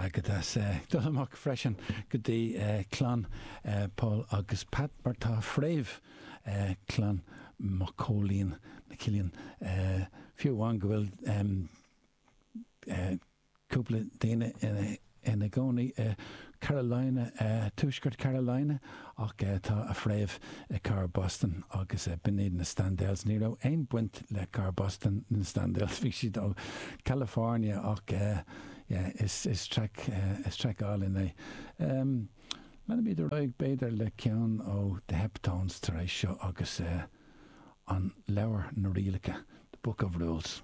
Agat as dul amach freisin go dtí clann Paul agus Pat mar tá fréamh clann Mac Cóilín na Cillín fiú amháin go bhfuil cúpla daoine ina gcónaí i Carolina, Tuaisceart Carolina, ach tá a fréamh i Cathair Boston agus b'in iad na Standells. Ní raibh aon baint le Cathair Boston na Standells, bhí siad ó California ach yeah is is traic is traic álainn é. Leanfaimid ar aghaidh b'fhéidir le ceann ó The Heptones tar éis seo agus an leabhar na rialacha, The Book of Rules.